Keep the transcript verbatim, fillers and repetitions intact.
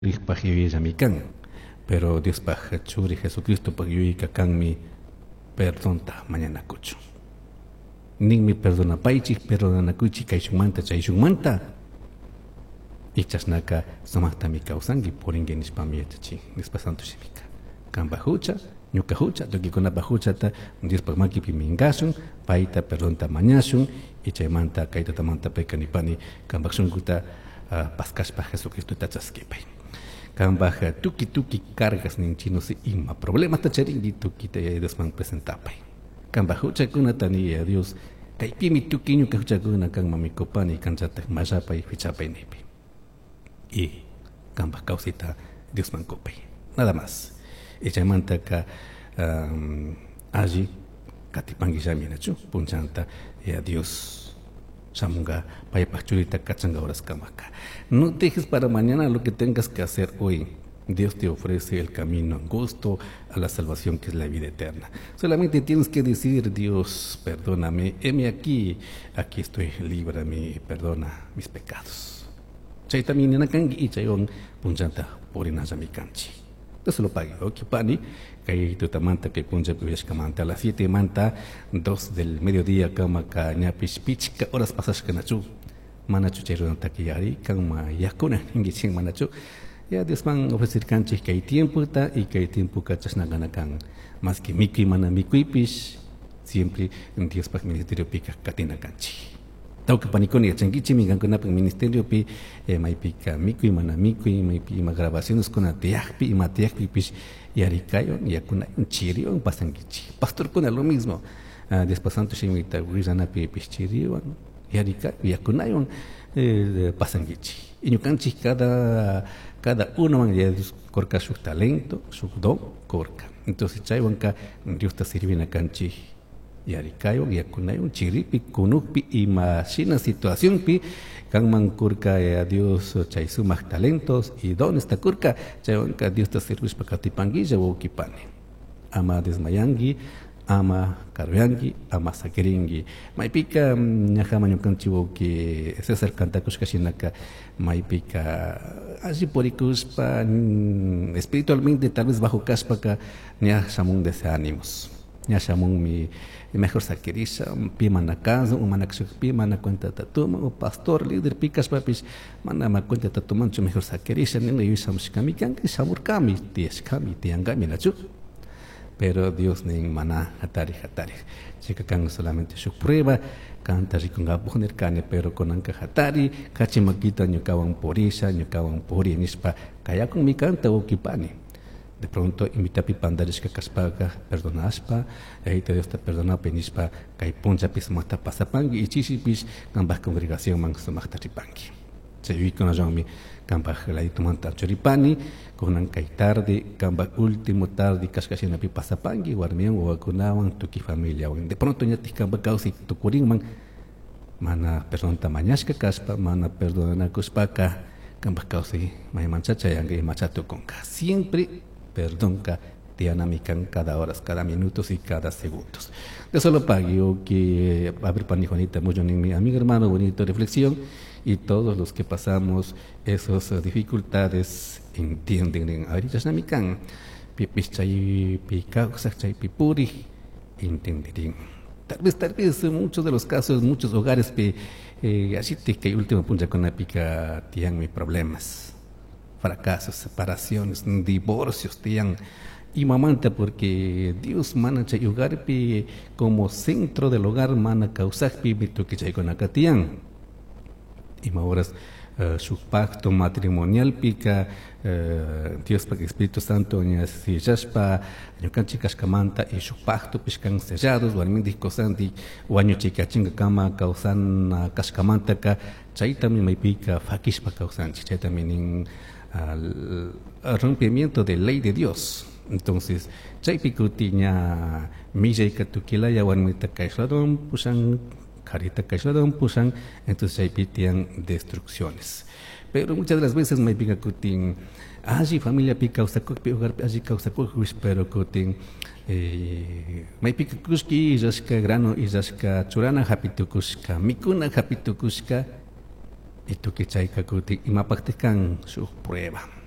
Paj yuyayllami kan, pero Diospaj churi Jesucristopaj yuyayka kanmi perdonta mañanakuchun. Ninmi perdonapaychik, perdonanakuychik kayshunmanta chayshunmanta. Y chashnaka sumaqtami kawsanki purinki nishpami yachachin Diospa santo shimika. Kanpaj hucha, ñuka hucha, tukuykunapaj huchata Diospaj makipi minkashun, payta perdonta mañashun y chaymanta kay tutamanta payka nipani kanpaj shunkuta uh, paskashpa Jesucristota chaskipay. Kanpaj tuki tuki cargas ninchik no sé ima problemata charinki tukita Yaya Diosman presentapay. Kanpaj huchakunata ni Yaya Dios kaypimi tukuy ñuka huchakuna kanman mikupani kanchatak mallapay fichapay nipi. Y kanpaj kawsayta Diosman kupay. Nada más. Y chaymantaka um, alli katipankillami nachu punchanta Yaya Dios shamunga paypaj churita kachanga horaskamaka. No dejes para mañana lo que tengas que hacer hoy. Dios te ofrece el camino angosto a la salvación, que es la vida eterna. Solamente tienes que decir: Dios, perdóname, heme aquí, aquí estoy, líbrame, perdona mis pecados. Chaytami nina kanki y chaywan punchanta purinallami kanchik. Dios lo pague. Ok, pani, kay tutamanta kay punchapi uyashkamanta a las siete manta dos del mediodía kamaka ñapish pichka horas pasashka nachu. Manachu chay runataka yarikan ma yakuna ninkichik manachu. Ya Diosman ofrecerkanchik kay tiempota y kay tiempoka chashna kan. Más que mikuy mana mikuypish siempre Diospaj ministeriopika katina kanchik. Tawka panikuna yachankichikmi kankunapaj ministeriopi eh, maypika mikuy mana mikuy maypi ima grabacioneskuna tiyakpi ima tiyakpipish yarikayon yakunayon chiriwan pasankichik. Pastorkuna lo mismo. Uh, Diospa santo shimita willanapipish chiriwan yarika yakunayon eh, pasankichik. Y ñukanchik cada cada uno ya Dios kurka shuk talento, shuk don kurka. Entonces chaywanka Diosta sirvina kanchik yarikaywan yakunayon chiripi kunukpi ima shina situacionpi kanman kurka ya Dios chay sumak talentos y dones ta kurka chaywanka Diosta sirvishpa katipankilla wawkipani. Ama desmayanki, ama karuyanki, ama sakirinki. Maypika ñajama ñukanchik wawki César kantakushka shinaka maypika alli purikushpa espiritualmente tal vez bajo kashpaka ña shamun desánimos. Ña shamunmi mejor sakirisha pi mana kasun o mana pi mana cuentata tuman o pastor líder pi kashpapish mana ma cuentata tumanchu mejor sakirisha nina yuyashamushkami kanka shamurkami tiyashkami tiyankami nachu. Pero Dios nin mana hatari hatari. Chayka kan solamente shuk prueba kanta rikunkapak nirkani pero kunanka hatari kachi makita ñukawan purisha ñukawan puri nishpa kayakunmi kanta wawkipani. De pronto imitapi pandarishka kashpaka perdonashpa Yayita Diosta perdonapi nishpa kay punchapi sumakta pasapanki y chishipish kanpaj congregacionman sumakta ripanki. Chay yuyaykunallawanmi kanpaj laditumanta churipani kunan kay tarde kanpaj último tarde kashka shinapi pasapanki warmiwan wawakunawan tukuy familiawan. De pronto ñatik kanpaj kawsay tukurinman mana perdonta mañashka kashpa mana perdonanakushpaka kanpaj kawsay maymancha chayanka imacha tukunka. Siempre perdonka tiyanami kan cada horas, cada minutos y cada segundos. De solo pague que a ver pani Juanita mucho mi amigo hermano bonito reflexión y todos los que pasamos esas dificultades entienden en ahorita kan pipis chay pi kawsaj chaypi puri entenderían. Tal vez, tal vez en muchos de los casos, muchos hogares pi eh, así te que último punto con la pica tienen problemas, fracasos, separaciones, divorcios tiyan imamanta porque Dios mana chay hogarpi como centro del hogar mana kawsakpi tukuy chaykunaka tiyan. Ima horas uh, shuk pacto matrimonial pika uh, Diospaj Espíritu Santo ña sellashpa ñukanchik kashkamanta y shuk pactopish kan sellados warmindik kusandik wañuchikachinka kawsana kashkamantaka chaytami maypika fakishpa kawsanchik chaytami nin al rompimiento de ley de Dios. Entonces, chaypi kuti ña millayka tukilaya warmita kaysh pushan, karita kaysh pushan, entonces chaypi tiyan destrucciones. Pero muchas de las veces maypika kutin alli familiapi kawsakukpi hogarpi alli kawsakukpish pero kutin eh, maypika kushki illashka grano illashka churana hapitukushka mikuna hapitukushka y tukuy chayka kutin imapaktik kan shuk prueba.